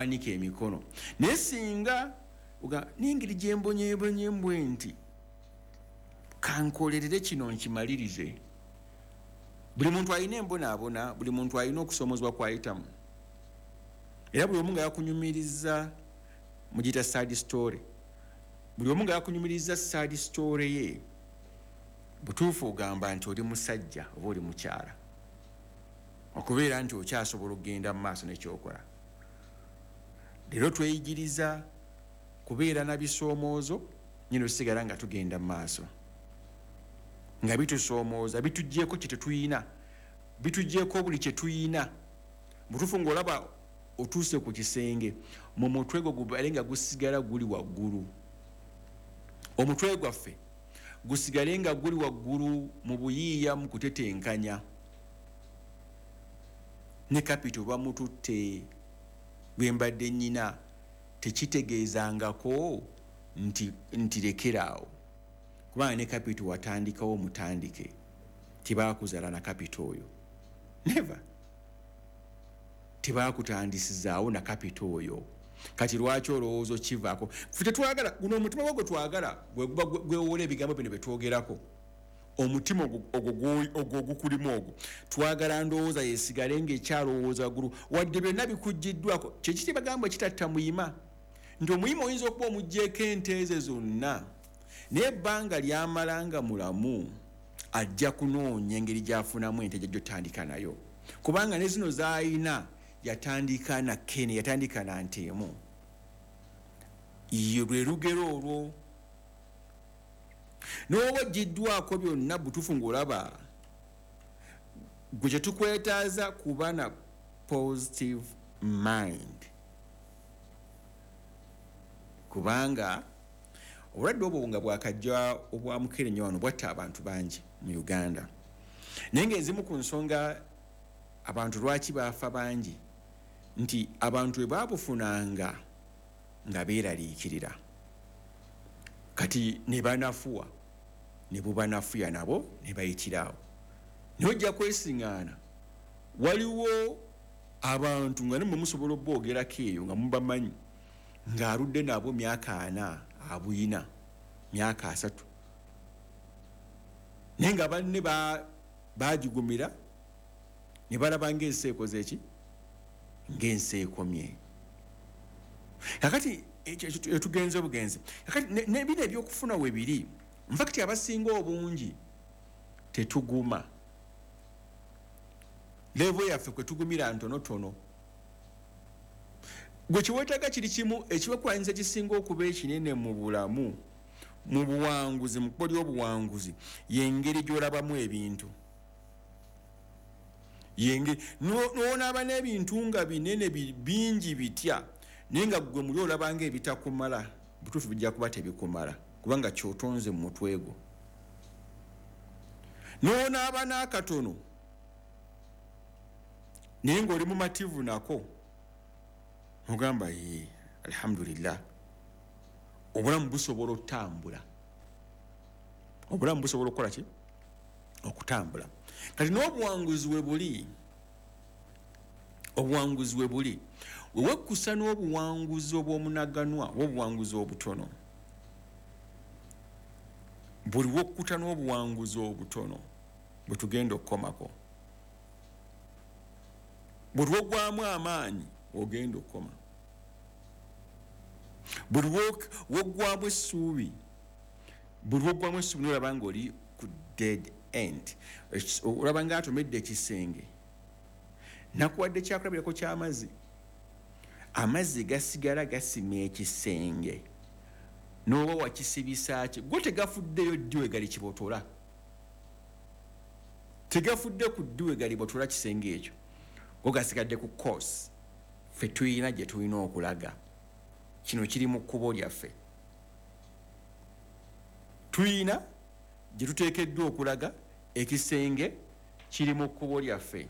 N'owanika emikono, naye singa n'engeri gyembonyebonye mbwe nti kankolerere kino nkimalirize. Buli muntu alina embonaabona, buli muntu alina okusoomozebwa kwayitamu, era buli omu nga yakunyumiriza mugiyita sad story. Buli omu nga yakunyumiriza sad story ye, butuufu ogamba nti oli musajja oba oli mukyala okubeera nti okyasobola okugenda mu maaso nekyokola. Leero tweyigiriza kubeera na bisoomoozo nyina osigala nga tugenda mu maaso nga bitusoomooza, bitugyeko kye tetuyina, bitugyeko buli kye tuyina. Butuufu ng'olaba otuuse ku kisenge, mu mutwe gwo gubale nga gusigala guli waggulu, omutwe gwaffe gusigale nga guli waggulu mu buyiiya, mu kutetenkanya. Ne kapito bamututte gwe mbadde nnyina, tekitegeezangako nti lekeraawo, kubanga ne kapito watandikawo mutandike, tebaakuzaala na kapito oyo, never, tebakutandisizaawo na kapito oyo. Kati lwaki olowooza okivaako? Ffe tetwagala guno omutima gwo gwe twagala gwe guba gwewola ebigambo bino byetwogerako. Omutima ogwo ogukulimu ogwo twagala ndowooza yesigale ngaekyalowooza waggulu, wadde byonna bikuggiddwako. Kyekiti bagamba kitatta muyima, nti omuyima oyinza okuba omuggyeko ente ze zonna, naye ebbanga lyamala nga mulamu ajja kunoonya engeri gy'afunamu ente gyajja otandika nayo, kubanga ne zino z'alina yatandika na kene, yatandika na nte emu. Ye lwe lugero olwo. N'oba oggyiddwako byonna, butuufu ng'olaba gwe kyetukwetaaza kuba na positive mind, kubanga obulwadde obwo nga bwakajja obwa mukenenya wano bwatta abantu bangi mu Uganda, naye ng'ezimu ku nsonga abantu lwaki baafa bangi nti abantu bwe baabufunanga nga beeraliikirira, kati ne banafuwa, ne bubanafuya nabo ne bayitira awo. Naye ojja kwesiŋŋaana waliwo abantu nga nemwe musobola oboogerako eyo nga mubamanyi, ng'aludde nabo myaka 40, abuyina myaka 30, naye nga banne bagigumira ne balaba ng'ensi ekoze eki, ng'ensi ekomye. Kakati etugenze obugenzi, kakati nebino ebyokufuna we biri, nfakiti abasinga obungi tetuguma, level yaffe kwe tugumira ntonotono. Gwe kiweetaaga kiri kimu, ekibakulwanyisa ekisinga okuba ekinene mu bulamu, mu buwanguzi, mu kkubo ly'obuwanguzi, y'engeri gy'olabamu ebintu. Yenge n'onaaba n'ebintu nga binene bingi bitya, naye nga ggwe muli olabanga ebitakumala, butuufu bijja kuba tebikumala, kubanga kyotonze mu mutwe gwo. N'onaaba n'akatono naye ng'oli mumativu nako, ogamba ye alhamdulillah, obulamu busobola okutambula, obulamu busobola okukola ki, okutambula. Kati n'obuwanguzi we buli, obuwanguzi we buli wewekkusa n'obuwanguzi obw'omunaganwa oba obuwanguzi obutono. Buli wokkuta n'obuwanguzi obutono bwe tugenda okukomako, buli wogwamu amaanyi ogenda okukoma, buli woggwamu essuubi, buli woggwamu essuubi nolaba nga oli ku dead end, olaba nga atomedde ekisenge. Nakuwadde kyakulabirako ky'amazzi, amazzi gasigala gasima ekisenge n'oba wakisibisaaki, go tegafuddeyo ddi we gali kibotola, tegafudde ku ddi we gali botola kisenge ekyo, go gasigadde ku course. Ffe tuyina gye tulina okulaga, kino kiri mu kkubo lyaffe, tuyina gye tuteekeddwa okulaga, ekisenge kiri mu kkubo lyaffe.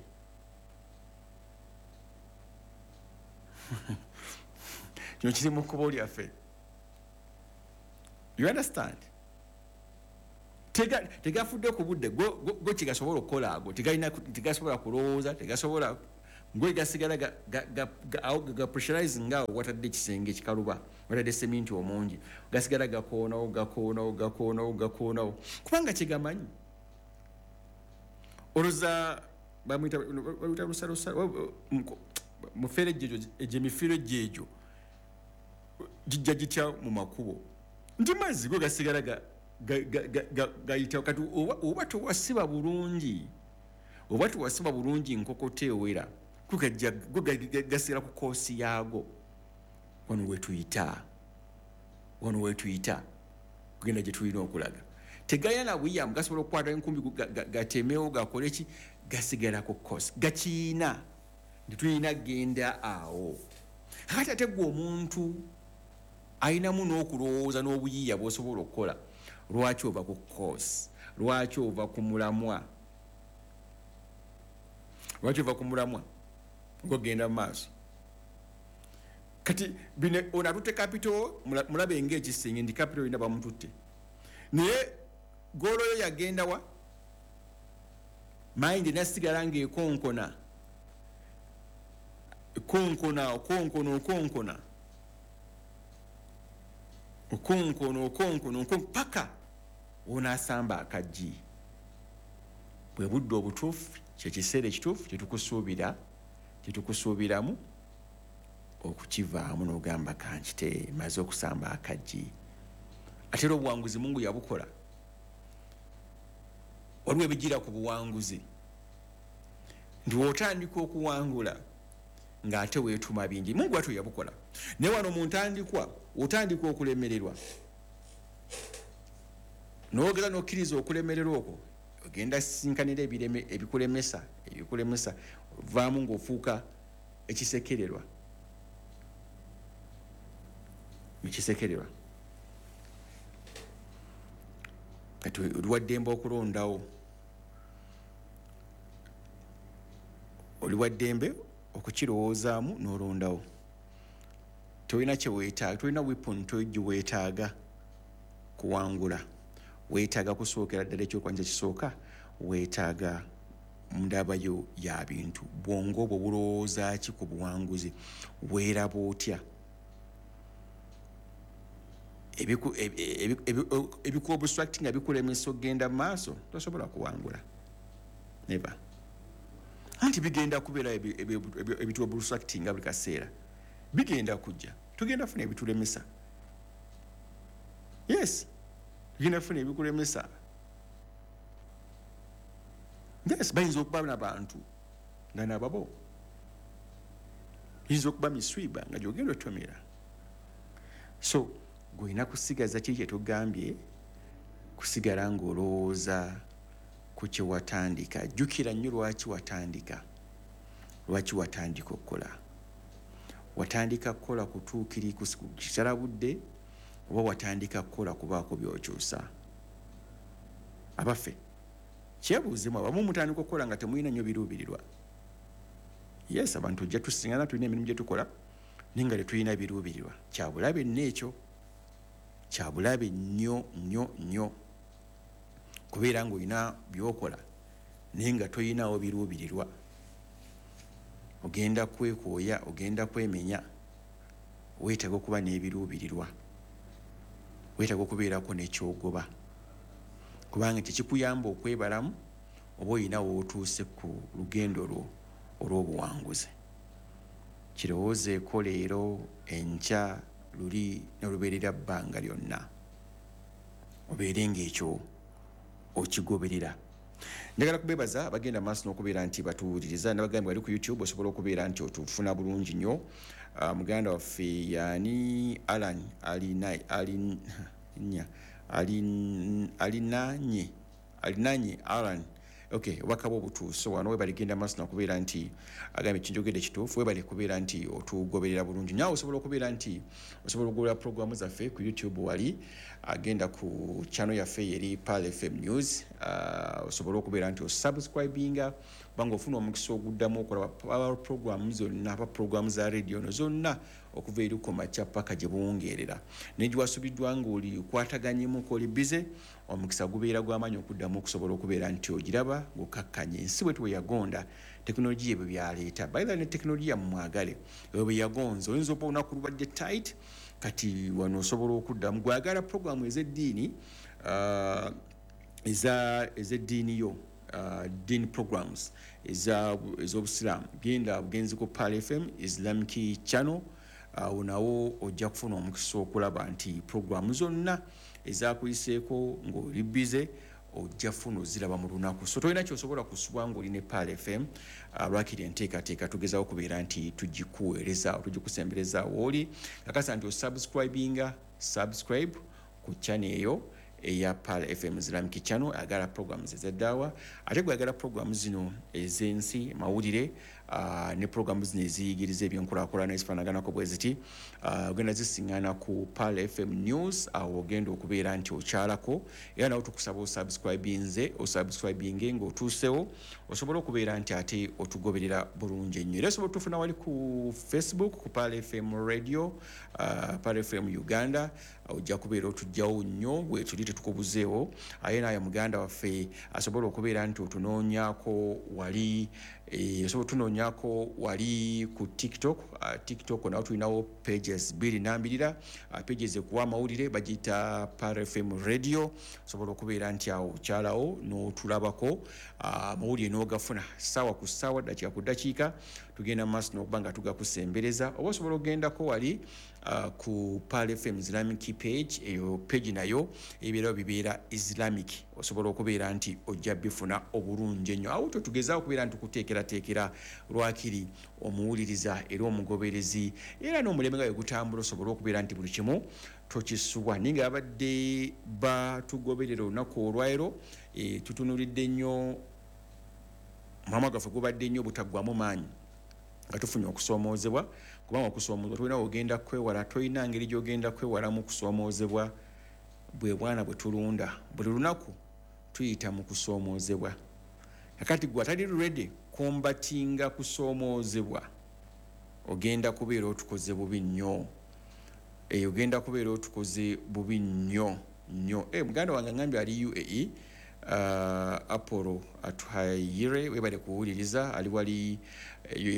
Kino kiri mu kkubo lyaffe, you understand? Tegafudde ku budde go kigasobola okukola, ago tegasobola kulowooza, tegasobola Gwe gasigala ga pressurizing awo watadde ekisenge ekikaluba, watadde seminti omungi, gasigala gakoonawo gakoonawo gakoonawo gakoonawo, kubanga kyegamanyi. Olowooza bamuyita lusalusa muferejje, egyo emiferejje egyo gijja gitya mu makubo? Nti mazzi go gasigala gayitawo. Kati oba tewasiba bulungi, oba tewasiba bulungi nkokota ewera, go gasigala ku course yaago. Wano wetuyita, wano wetuyita kugenda gye tulina okulaga. Tegalina na buyamu, gasobola okukwata enkumbi gatemewo gakole ki, gasigala ku course, gakiina nti tulina genda awo. Kakati ate gwe omuntu ayinamu n'okulowooza n'obuyiiya bw'osobola okukola, lwaki ova ku course? Lwaki ova ku mulamwa? Lwaki ova ku mulamwa ng'ogenda mu maaso? Kati bino ono atutte capital, mulabe ng'ekisenge nti capital yina bamututte, naye goal yo yagenda wa? Mind nasigala ng'ekonkona konkona okonkona okonkona okonkona okonkona okonkona paka onaasamba akaggi. Bwe budde obutuufu, kyekiseera ekituufu kyetukusuubira, kyetukusuubiramu okukivaamu n'ogamba kankite, maze okusamba akaggi. Ate era obuwanguzi Mungu yabukola. Waliwo ebigira ku buwanguzi nti w'otandika okuwangula ng'ate weetuma bingi. Mungu atyo yabukola. Naye wano mu ntandikwa otandika okulemererwa, n'ogeza n'okkiriza okulemererwa okwo, ogenda sisinkanira ebireme ebikulemesa, ebikulemesa, ovaamu ng'ofuuka ekisekererwa, ekisekererwa. Kati oli wa ddembe okulondawo, oli wa ddembe okukirowoozaamu n'olondawo. Tolina kye weetaaga, tolina weapon gye weetaaga kuwangula. Weetaaga kusookera ddala ekyokulwanyisa kisooka, weetaaga ndabayo ya bintu. Bwongo bwo bulowooza ki ku buwanguzi? Weeraba otya? Ebikuobstruct nga bikulemesa okugenda mu maaso, tosobola kuwangula, never. Anti bigenda kubeera ebituobstructinga buli kaseera, bigenda kujja, tugenda funa ebitulemesa. Yes, tugenda funa ebikulemesa. Yes, bayinza okuba nabantu nga nababo, yinza okuba miswiba nga gyogenda otomera. So gwolina kusigaza kiri kyetugambye, kusigala ng'olowooza ku kyewatandika. Jjukira nnyo lwaki watandika, lwaki watandika okukola. Watandika kukola kutuukiri kisala budde, oba watandika kukola kubaako byokyusa? Abaffe, kyebuuzemu. Abamu mutandika okukola nga temulina nnyo biruubirirwa. Yes, abantu ojja tusingana tulina emirimu gye tukola naye nga tetulina biruubirirwa. Kyabulabe nno ekyo, kyabulabe nnyo nnyo nnyo kubeera ng'olina byokola naye nga toyinawo biruubirirwa. Ogenda kwekooya, ogenda kwemenya. Weetaaga okuba n'ebiruubirirwa, weetaaga okubeerako nekyogoba, kubanga tekikuyamba okwebalamu oba olina wootuuse ku lugendo lwo olw'obuwanguzi. Kirowoozeeko leero, enkya, luli, nolubeerera bbanga lyonna, obeere ngaekyo okigoberera. Njagala kubebaza abagenda maaso n'okubeera nti batuwuliriza. Nabagambye wali ku YouTube osobola okubeera nti otufuna bulungi nnyo. Muganda waffe yani Alan Alinanye, Alinanye Alan, okay, obubaka bwe obutuuse wano. Webale genda maaso nakubeera nti agambye kinjogedde kituufu. Webale kubeera nti otugoberera bulungi. Naawe osobola okubeera nti osobola okugoberera programu zaffe ku YouTube wali, agenda ku channel yaffe yeri Pearl FM News, osobola okubeera nti osubscribinga. Kubanga ofuna omukisa oguddamu okulaba programu zonna, aba programu za radio no zonna okuva eri ku makya paka gye buwungeerera. Naye giwasubiddwa ng'oli okwataganyemuko, oli bize, omukisa gubeera gw'amaanyi okuddamu okusobola okubeera nti ogiraba ng'okakkanye. Ensi bwe bwe yagonda, tekinologiya ebyo byaleeta. By the way, ne tekinologiya mumwagale, ebyo bwe yagonza. Oyinza okuba olunaku lubadde tight, kati wano osobola okuddamu. Gwagala programu ez'eddiini, ez'eddiini yo, deen programs ez'obusiraamu, genda bugenzi ku Pearl FM Islamic Channel. Awo nawo ojja kufuna omukisa okulaba nti programu zonna ezakuyiseeko ng'oli bize ojja funa oziraba mu lunaku. So tolina kyosobola kusubwa ng'oli ne Pearl FM. Lwakiri enteekateeka tugezaho okubeera nti tugikuweereza, tugikusembereza wooli. Kakasa nti osubscribinga, subscribe ku channel eyo eya Pearl FM Islamic Channel, agala programs ez'eddaawa. Ate gwagala programs zino ez'ensi, mawulire, ne programs zino eziyigiriza ebyenkulaakulana ezifaanaganako bwe ziti, ogenda zisiŋŋaana ku Pearl FM News. Awo ogenda okubeera nti okyalako, era nawe tukusaba osubscribinze, osubscribinge ng'otuusewo, osobola okubeera nti ate otugoberera bulungi ennyo. Era osobola otufuna wali ku Facebook ku Pearl FM Radio, Pearl FM Uganda. Ojja kubeera otujjawo nnyo, bwetuli tetukubuzeewo. Aye naye muganda waffe asobola okubeera nti otunoonyaako wali, osobola otunoonyaako wali ku TikTok. TikTok nawo tulinawo pages bbiri nambirira. Pages ekuwa amawulire bagiyita Pearl FM Radio. Osobola okubeera nti awo okyalawo n'otulabako, amawulire n'ogafuna ssaawa ku ssaawa, ddakiika ku ddakiika. Tugenda mu maaso n'okuba nga tugakusembereza. Oba osobola okugendako wali ku Pearl FM Islamic page. Eyo page nayo ebibeerawo bibeera Islamic, osobola okubeera nti ojja bifuna obulungi ennyo. Awo totugezaako okubeera nti tukuteekerateekera lwakiri omuwuliriza era omugoberezi, era n'omulembe nga bwe gutambula, osobole okubeera nti buli kimu tokisubwa. Naye nga babadde batugoberera olunaku olwaleero, tutunuulidde nnyo, mulamwa gwaffe gubadde nnyo obutaggwamu maanyi nga tufunye okusoomoozebwa, kubanga okusoomoozebwa tolina ogenda kwewala, tolina ngeri gy'ogenda kwewalamu kusoomoozebwa. Bwe bwana bwe tulunda, buli lunaku tuyita mu kusoomoozebwa. Kakati gwe atali ready combatinga kusoomoozebwa, ogenda kubeera otukoze bubi nnyo. Ogenda kubeera otukoze bubi nnyo nnyo. Muganda wange angambye ali UAE, Apollo Atuhayire, webale kuwuliriza. Ali wali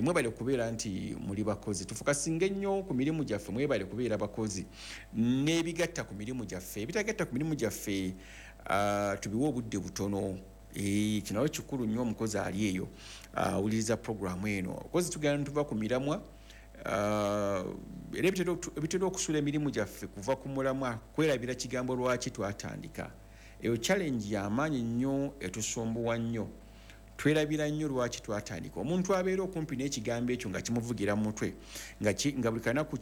mwebale kubeera nti muli bakozi. Tufokasinga ennyo ku mirimu gyaffe. Mwebale kubeera bakozi n'ebigatta ku mirimu gyaffe, ebitagatta ku mirimu gyaffe tubiwe obudde butono. Kinawo kikulu nnyo. Omukozi ali eyo awuliriza programu eno, kozi tugenda tuva ku miramwa, era ebitera okusuula emirimu gyaffe kuva ku mulamwa, kwerabira kigambo lwaki twatandika. Eyo challenge y'amaanyi nnyo, etusumbuwa nnyo. Twerabira nnyo lwaki twatandika. Omuntu abeera okumpi n'ekigambo ekyo nga kimuvugira mu mutwe, nga buli kanaku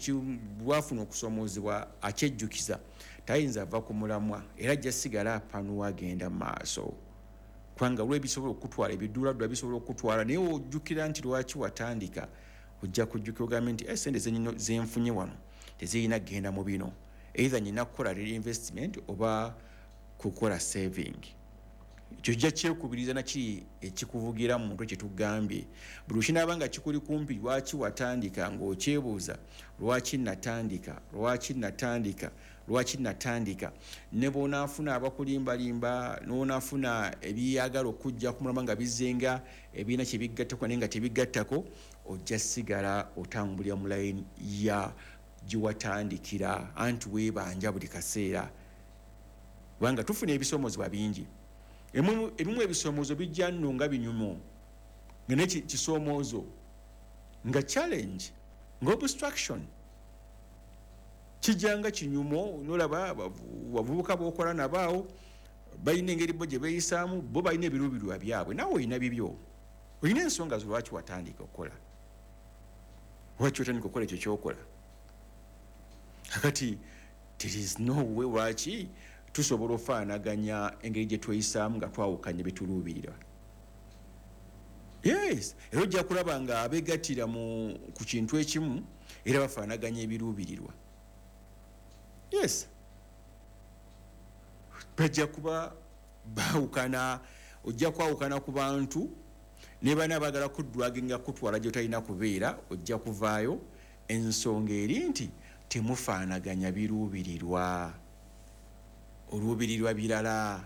lwafuna okusoomoozebwa akyejjukiza, tayinza ava ku mulamwa, era ajja sigala apanuwa, agenda mu maaso, kubanga lwe bisobola okutwala ebiduuladdula bisobola okutwala. Naye ojjukira nti lwaki watandika, ojja kujjukira ogambe nti sente zenfunye wano tezirina kugenda mu bino, either nyina kukola reinvestment oba kukola saving. Ekyo kijja kyekubiriza nakiri ekikuvugira mu mutwe kyetugambye. Buli kinaaba nga kikuli kumpi lwaki watandika, ng'okyebuuza lwaki natandika, lwaki natandika, lwaki natandika, ne bw'onaafuna abakulimbalimba, n'onaafuna ebyagala okujja ku mulamwa nga bizenga ebirina kyebigattako naye nga tebigattako, ojja sigala otambulira mu layini ya giwatandikira. Anti weebanja buli kaseera, kubanga tufuna ebisoomozebwa bingi. Ebimu ebisomoozo bijja nno nga binyumo, nga ne kisoomoozo, nga challenge, nga obstruction, kijja nga kinyumo. Nolaba bavubuka bokola nabaawo balina engeri bo gye beeyisaamu, bo balina ebiruubirirwa byabwe, naawe olina bibyo, olina ensonga zo lwaki watandika okukola, lwaki otandika okukola ekyo kyokola. Kakati there is no way lwaki tusobola ofaanaganya engeri gye tweyisaamu nga twawukanya betuluubirira. Yes, era ojja kulaba nga abegattira ku kintu ekimu era bafaanaganya ebiruubirirwa. Yes, bajja kuba baawukana. Ojja kwawukana ku bantu Ne bana baagala kudwaginga kutwala gy'otalina kubeera, ojja kuvaayo. Ensonga eri nti temufaanaganya biruubirirwa. Oluubirirwa birala,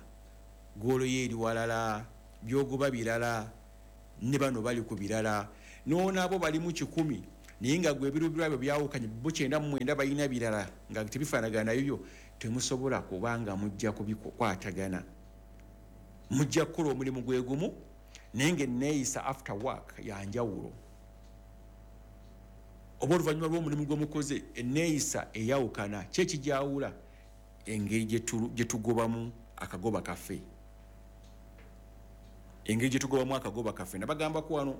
goolo ye eri walala, by'ogoba birala, ne bano bali ku birala. N'onaabo bali mu 100, naye nga gwe ebiruubirirwa byo byawukanye, bo 99 balina birala nga tebifaanagana nayo byo, temusobola kubanga mujja kubikwatagana. Mujja kukola omulimu gwe gumu, naye ng'enneeyisa after work ya njawulo. Oba oluvannyuma lw'omulimu gwe mukoze, enneeyisa eyawukana. Ki ekijawula? Engeri gye tugobamu akagoba kaffe. Engeri gye tugobamu akagoba kaffe. Nabagambako wano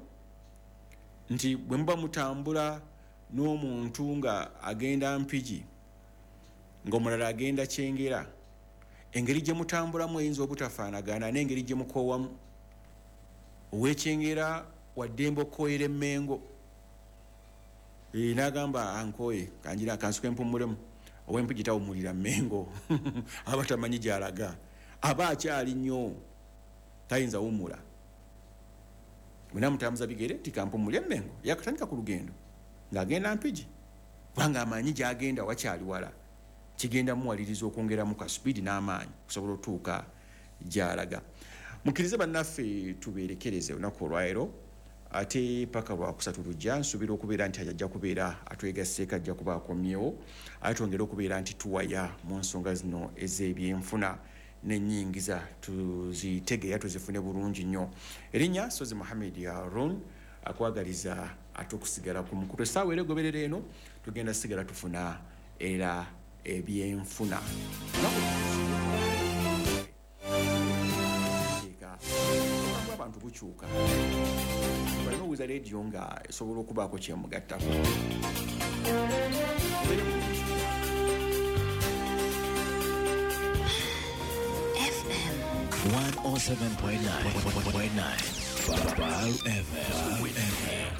nti bwe muba mutambula n'omuntu nga agenda Mpigi, ng'omulala agenda Kyengera, engeri gye mutambulamu eyinza obutafaanagana n'engeri gye mukoowamu. Ow'ekyengera waddembe okukooyera emmengo. N'agamba ankooye, kanjira akansuke mpummulemu. Ow'empigi tawummulira mmengo. Aba tamanyi gy'alaga. Aba akyali nnyo, tayinza wummula. Bwe namutambuza bigere, tikampummule emmengo. Yakatandika ku lugendo ng'agenda Mpigi, kubanga amanyi gy'agenda wakyali wala. Kigenda muwaliriza okwongeramu ka supiidi n'amaanyi okusobola otuuka gy'alaga. Mukkirize bannaffe tubeerekereze olunaku olwaleero, ate paka lwakusatu lujja. Nsuubira okubeera nti ajja kubeera atwegasseeko, ajja kuba akomyewo, ate twongere okubeera nti tuwaya mu nsonga zino ez'ebyenfuna n'ennyingiza, tuzitegeera tuzifune bulungi nnyo. Erinnya Sozi Muhammad Harun, akwagaliza ate okusigala ku mukutu. Essaawa era egoberera eno tugenda sigala tufuna era ebyenfuna. Abantu bukyuka. Balina owuliza leediyo nga esobola okubaako kyemugattako. FM 107.9 Pearl FM.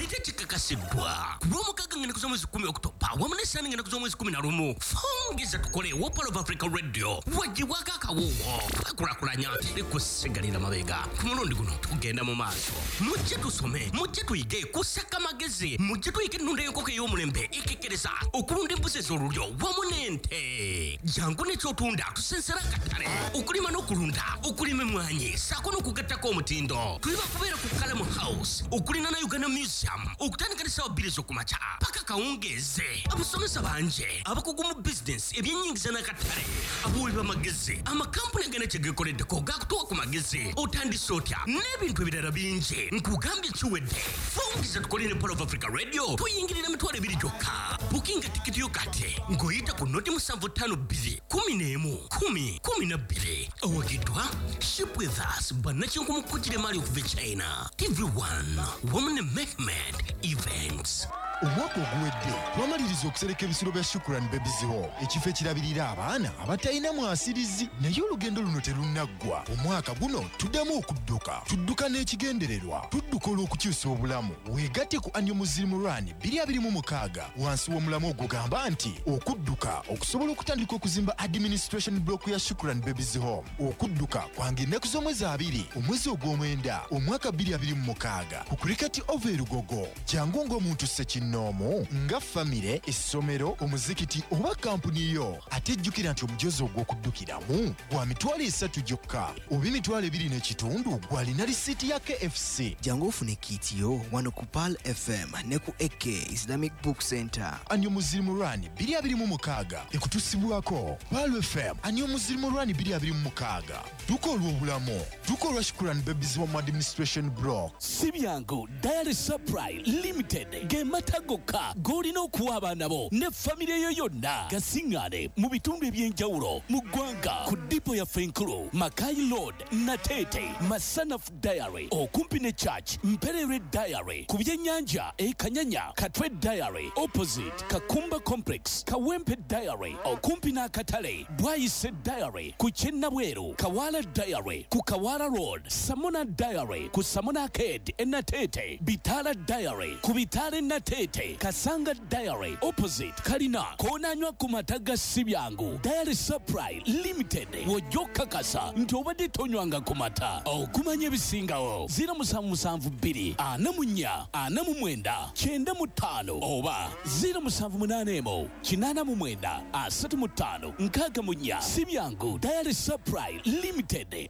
Ate kikakasiddwa ku lw'omukaaga ng'ennaku z'omwezi 10 Okutoba wamu n'essaani ng'ennaku z'omwezi 11. Fungeza tukole wa Pearl of Africa Radio wagibwako akawuwo. Twekulaakulanya, teri kusigalira mabega. Ku mulundi guno tugenda mu maaso. Mujje tusome, mujje tuyige kusaka magezi, mujje tuyige ennunda y'enkoko ey'omulembe ekekkereza, okulunda embuzi ez'olulyo wamu n'ente. Jangu n'ekyotunda tusensera akatale, okulima n'okulunda, okulima emmwanyi ssaako n'okugattako omutindo. Tuli bakubeera ku Kalamu House okulinaana Uganda Museum okutandika n'essaawa 2 ez'okumakya paka kawungeeze. Abasomesa bangi abakugu mu bizinensi, ebyennyingiza n'akatale, abawi b'amagezi, amakampuni agana kye geekoleddeko gakutuwa ku magezi, otandise otya n'ebintu ebirala bingi. Nkugambye kiwedde. Fungiza tukole ne Pearl of Africa Radio, tuyingirira 20,000 gyokka. Bukinga tikiti yo kati ng'oyita ku 0752 11 10 12. Owagiddwa Ship With Us, bannakinku mu kukira emaali okuva e China, TV1 wamu ne Mehmed Events. Omwaka oguwedde twamaliriza okusereka ebisulo bya Shukran Babies Home, ekifo ekirabirira abaana abatalina mwasirizi. Naye olugendo luno terunnaggwa. Omwaka guno tuddamu okudduka, tudduka n'ekigendererwa, tudduka olw'okukyusa obulamu. Weegatte ku Annual Muslim Run 2026 wansi w'omulamu ogugamba nti okudduka okusobola okutandika okuzimba administration block ya Shukran Babies Home. Okudduka kwange ennaku z'omwezi 2 omwezi ogw'omwenda omwaka 2026 ku Cricket Oval e Lugogo. Jangu ng'omuntu ssekinnoomu, nga famire, essomero, omuzikiti oba kampuni yo. Ate jjukira nti omujozi ogw'okuddukiramu gwa 30,000 gyokka oba 25,000 gw'alina risiiti ya KFC. Jangu ofune kiiti yo wano ku Pearl FM ne ku AK Islamic Book Center. Annual Muslim Run 2026 ekutusibwako Pearl FM. Annual Muslim Run 2026, dduka olw'obulamu, dduka olwa Shukran Babies Home Administration Block. Si byangu. Dairy Supply Limited ge mata gokka g'olina okuwa abaana bo ne famire yo yonna. Gasiŋŋaane mu bitundu eby'enjawulo mu ggwanga ku dipo yaffe enkulu, Makai Road, Nateete, Masanaf Dairy okumpi ne Church, Mpererwe Dairy ku byennyanja e Kanyanya, Katwe Dairy opposite Opposite Kakumba Complex, Kawempe Dairy, okumpi n'akatale, Bwayise Dairy ku Kyennabweru, Kawala Dairy ku Kawala Road, Samona Dairy ku Samona Arcade e Nateete, Bitala Dairy ku Bitala e Nateete, Kasanga Dairy opposite Kalina, koonanywa ku mata ga Sibyangu. Dairy Supply Limited, w'ojja okukakasa nti obadde tonywanga ku mata. Okumanya ebisingawo 0772 44 49 95 oba 0781 89 35 64. Sibyangu Dairy Supply Limited.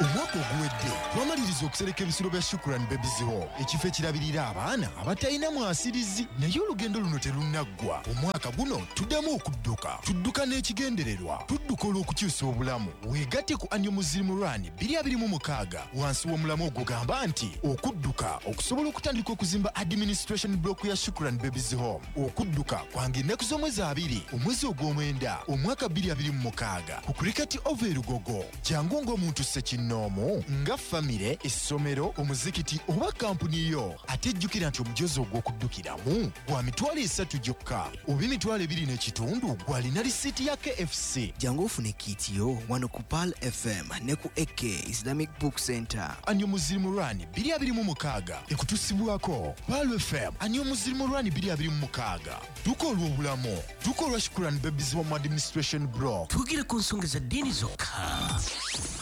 Omwaka oguwedde twamaliriza okusereka ebisulo bya Shukran Babies Home, ekifo ekirabirira abaana abatalina mwasirizi. Naye olugendo luno terunnaggwa. Omwaka guno tuddamu okudduka, tudduka n'ekigendererwa, tudduka olw'okukyusa obulamu. Weegatte ku Annual Muslim Run 2026 wansi w'omulamu ogugamba nti okudduka okusobola okutandika okuzimba administration block ya Shukran Babies Home. Okudduka kwange ennaku z'omwezi 2 omwezi ogw'omwenda omwaka 2026 ku Cricket Oval e Lugogo. Jangu ng'omuntu ssekinnoomu, nga famire, essomero, omuzikiti oba kampuni yo. Ate jjukira nti omujozi ogw'okuddukiramu gwa 300,000 gyokka oba 2,500 gw'alina risiiti ya KFC. Jangu ofune kit yo wano ku Pearl FM ne ku AK Islamic Book Center. Annual Muslim Run 2026 ekutusibwako Pearl FM. Annual Muslim Run 2026, dduka olw'obulamu, dduka olwa Shukran Babies Home Administration Block. Twogere ku nsonga za ddiini zokka,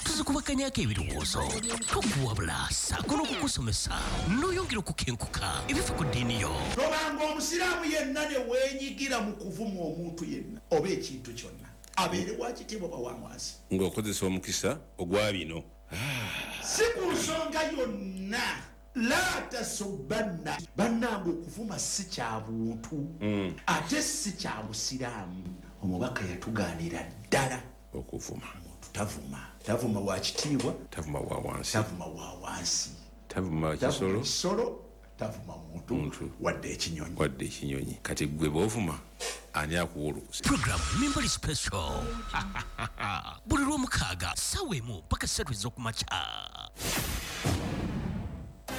tuzikubakanyako ebirowoozo, tukuwabula ssaako n'okukusomesa n'oyongera okukenkuka ebifa ku ddiini yo. Tobanga omusiraamu yenna ne weenyigira mu kuvuma omuntu yenna oba ekintu kyonna, abeere wa kitiibwa oba wa wansi, ng'okozesa omukisa ogwa bino. Si ku nsonga yonna. La tasubanna, bannange, okuvuma si kya buntu ate si kya busiraamu. Omubaka yatugaanira ddala okuvuma. Omuntu tavuma, tavuma wa kitiibwa, tavuma wa wansi, tavuma wa wansi, tavuma tavuma kisolo, kisolo, tavuma muntu, Muntu. wadde ekinyonyi. Wadde ekinyonyi. Kati gwe bw'ovuma ani akuwa olukusa? Program Mimbali Special buli lwomukaaga ssaawa 1 paka 3 ez'okumakya.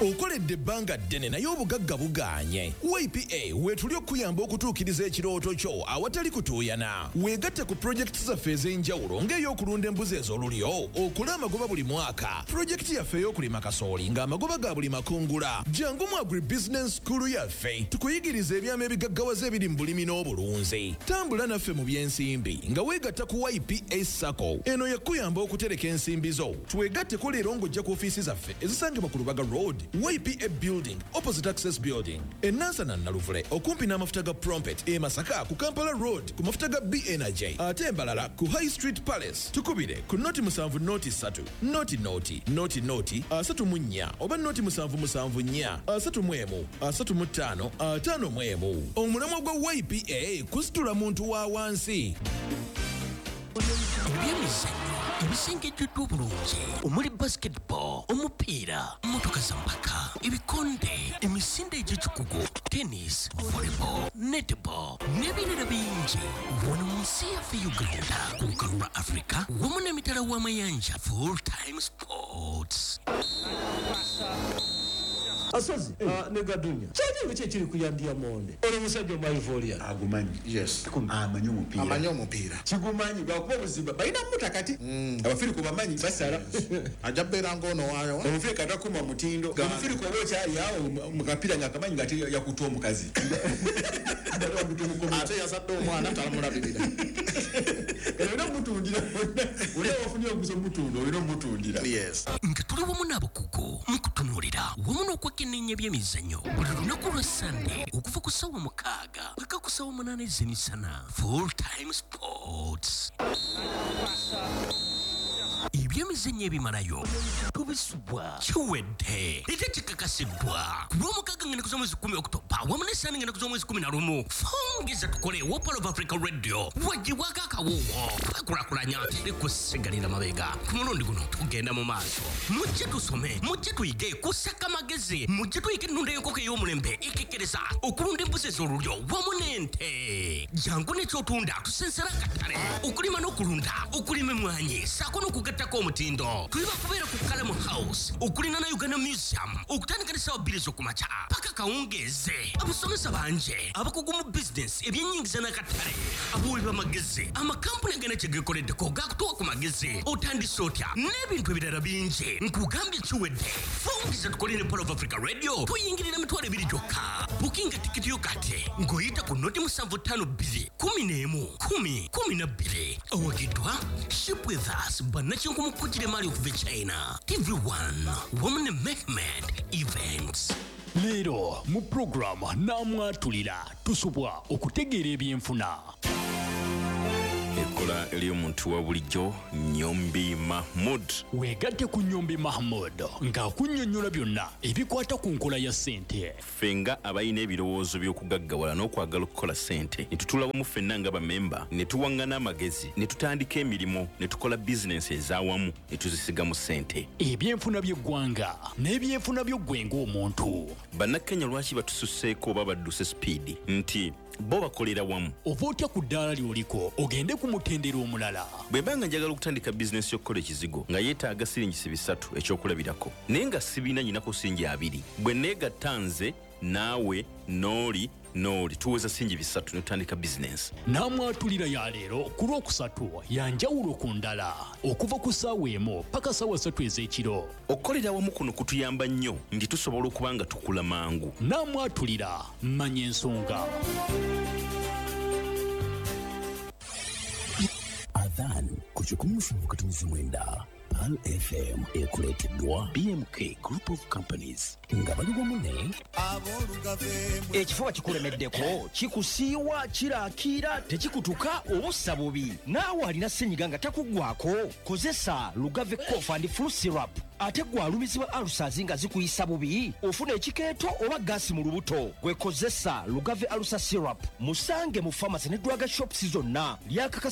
Okoledde ebbanga ddene naye obugagga bugaanye. YPA weetuli okuyamba okutuukiriza ekirooto kyo awatali kutuuyana. Weegatte ku pulojekiti zaffe ez'enjawulo ng'ey'okulunda embuzi ez'olulyo okole amagoba buli mwaka, pulojekiti yaffe ey'okulima kasooli ng'amagoba ga buli makungula. Jangu mu Agribusiness School yaffe tukuyigiriza ebyama ebigaggawaza ebiri mu bulimi n'obulunzi. Tambula naffe mu by'ensimbi nga weegatta ku YPA SACCO. Eno yakuyamba okutereka ensimbi zo. Twegatteko leero ng'ojja ku ofiisi zaffe ezisangibwa ku Lubaga Road, YPA Building opposite Access Building, e Nansana Naluvule okumpi n'amafuta ga Prompet, e Masaka ku Kampala Road ku mafuta ga B Energy, ate embalala ku High Street Palace. Tukubire ku 070 03 00 00 34 oba 0774 31 35 51. Omulamwa gwa YPA kusitula muntu wa wansi. Ebyemizannyo ebisengejjeddwa obulungi omuli basketball, omupiira, mmotoka za mpaka, ebikonde, emisinde egy'ekikugu, tennis, volleyball, netball n'ebirala bingi wano mu nsi yaffe Uganda, ku lukalu lwa Africa wamu n'emitala w'amayanja. Full Time Sports. Asozi ne Gadunya, kyekyo ki ekiri ku Diamond, ono omusajja omu Ivorian? Agumanyi, yes, amanyi omupiira. Amanyi omupiira. Kigumanyi lwakuba obuzibu balina muta kati abafirika bamanyi basala. Ajja bbeera ng'ono waayo. Omufirika takuma mutindo. Omufirika oba okyali awo mu kapiira nga akamanyi nga ate yakuta omukazi. Ate yazadde omwana talamulabirira. Olina omutundira, olina wafunye oguza omutunda, olina omutundira. Yes. Nga tuli wamu n'abakugu mu kutunuulira wamu n'okwekenneenya ebyemizannyo buli lunaku lwa Sande okuva ku ssaawa 6 paka ku ssaawa 8 ez'emisana. Full Time Sports, ebyemizannyo ebimalayo tubisubwa. Kiwedde era kikakasiddwa ku lwomukaaga nga ennaku z'omwezi 10 Okutoba wamu n'essaani nga ennaku z'omwezi 11. Fungeza tukole wa Pearl of Africa Radio wagibwako akawuwo. Twekulakulanya, teri kusigalira mabega. Ku mulundi guno tugenda mu maaso. Mujje tusome, mujje tuyige kusaka magezi, mujje tuyige ennunda y'enkoko ey'omulembe ekekkereza, okulunda embuzi ez'olulyo wamu n'ente. Jangu n'ekyotunda tusensera akatale, okulima n'okulunda, okulima emmwanyi ssaako n'okugattako Ekisingerako omutindo. Tuli bakubeera ku Kalamu House okulina na Uganda Museum okutandika ne ssaawa 2 ez'okumakya paka kawungeeze. Abasomesa bangi abakugu mu bizinesi, ebyennyingiza n'akatale, abawi b'amagezi, amakampuni agana kye geekoleddeko gakutuwa ku magezi, otandise otya n'ebintu ebirala bingi. Nkugambye kiwedde. Fungiza tukole ne Pearl of Africa Radio, tuyingirira 20,000 gyokka. Bukinga tikiti yo kati ng'oyita ku 075 2 11 10 12. Awagiddwa Ship With Us, bannakinku mu kugira emaali okuva e China, TV1 wamu ne Mehmed Events. Leero mu puroguramu Naamwatulira tusubwa okutegeera ebyenfuna. Ekkola ery'omuntu wa bulijjo, Nyombi Mahmud. Weegatte ku Nyombi Mahmud ng'akunnyonnyola byonna ebikwata ku nkola ya ssente. Ffe nga abalina ebirowoozo by'okugaggawala n'okwagala okukola ssente, ne tutuula wamu ffenna nga bamemba, ne tuwaŋŋana amagezi, ne tutandika emirimu, ne tukola bizinensi ez'awamu, ne tuzisigamu ssente. Ebyenfuna by'eggwanga n'ebyenfuna by'oggwe ng'omuntu. Bannakenya lwaki batususseeko oba badduse sipiidi nti bo bakolera wamu? Ova otya ku ddaala ly'oliko ogende ku mutendera omulala? Bwe mba nga njagala okutandika bizinensi y'okukola ekizigo nga yeetaaga siringisi 300, ekyokulabirako, naye nga sibiina, nyinako siringi 20, bwe neegatta nze naawe n'oli n'oli, tuweza siringi 300 ne tutandika bizinensi. Naamwatulira ya leero ku Lwokusatu ya njawulo ku ndala, okuva ku ssaawa 1 paka ssaawa 3 ez'ekiro. Okukolera awamu kuno kutuyamba nnyo nti tusobola okuba nga tukula mangu. Naamwatulira, manya ensonga. Adhan ku 107.9 Pearl FM ekuleeteddwa BMK Group of Companies nga bali wamu ne Ekifuba kikulemeddeko, kikusiiwa, kirakiira, tekikutuka, obussa bubi, naawe alina senyiga nga takuggwako, kozesa Lugave Cough and Flu Syrup. Ate gwe alumizibwa ulcers nga zikuyisa bubi, ofuna ekikeeto oba gaasi mu lubuto, gwe kozesa Lugave Ulcer Syrup. Musange mu pharmacy ne drug shops zonna lyakakasa.